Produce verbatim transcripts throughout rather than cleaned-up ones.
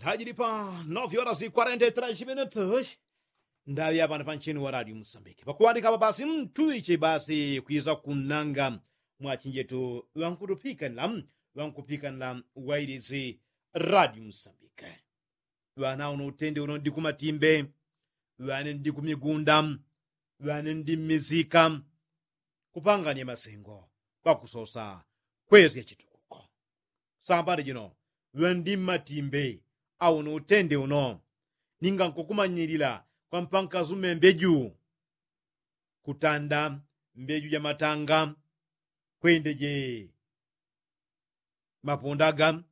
Tajili pa novyola si kwarenta i trashi minutu. Ndaŵi apano panchini wa radio musambike pakuŵandika apa basi mtuŵiche basi kwiza kunnanga mwachinjetu ŵankutupikanila ŵankupikanila wailisi radio musambike. Ŵana uno utende uno ndi kumatimbe, ŵane ndi kumigunda, ŵane ndi mmisika, kupanganya masengo pakusosa kwesya chitukuko. Sambani jino ŵendi mmatimbe au no utende uno. Ninga nkukumanyilila kwa mpanka zume mbeju kutanda mbeju ja matanga kwende je mapondaga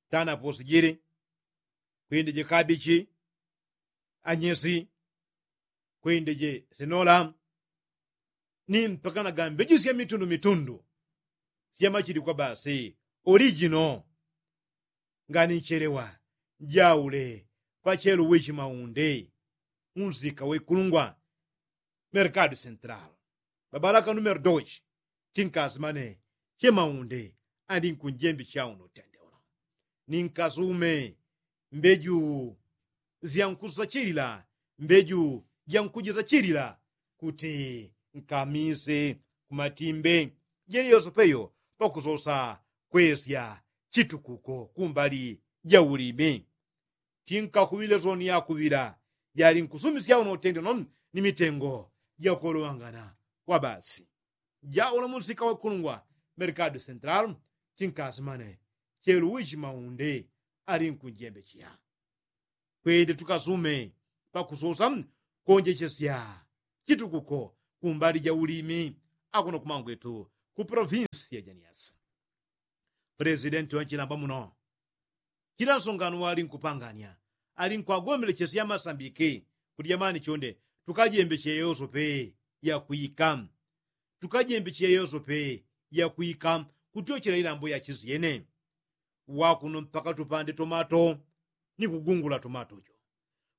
tana posijili kwende je kabichi anyesi kwende je senola ni mpakana ga mbeju sya mitundu mitundu sya machili kwa basi olijino. Ngani nchelewa njaule pachelu wichi maunde unsika wikulungwa merkadu sentral babalaka numero doji. Tinkasimane che maunde andi nkunjembi chauno tende uno ninkasume mbeju syankusachilila mbeju jankujisachilila kuti nkamise kumatimbe jeli yosopeyo pakusosa kwesya chitukuko kumbali ja ulimi. Tinkakuŵile soni yakuŵila jali nkusumisya uno utende uno ni mitengo jakolowangana kwa basi. Jaulo musika wakulungwa merkadu sentral tinkasimane chelu wichi maunde ali nkunjembechiya kwende tukasume pakusosa konjechesya chitukuko kumbali ja ulimi. Akuno kumangwetu ku provinsi ya janiasi presidenti wa nchilamba muno chila nsongano wali nkupanganya ali nkwagombelechesya masambiki kuti jamani chonde tukajembeche yosope yakwika tukajembeche yosope yakwika kutyochela ilambo yachisyene. Wakuno mpaka tupande tomato ni kugungula tomato jo.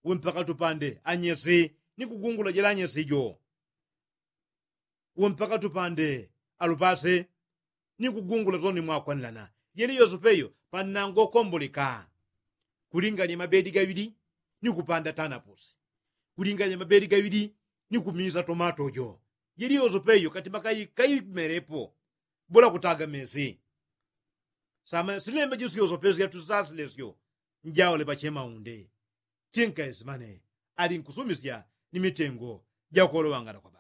Uwe mpaka tupande anyesi ni kugungula jela anyesi jo. Uwe mpaka tupande alupase ni kugungula toni mwakwanilana jeli yosopeyo pannango komboleka. Kulinganya mabedi gaŵili ni kupanda tanapusi kulinganya mabedi gaŵili ni kumisa tomato jo. Jeli yosopeyo katima kaimelepo bola kutaga mesi. Sama silembe jisi yosopeyo syatusasile syo njaule pache maunde. Tinkaesimane ali nkusumisya ni mitengo jakolowangana kwa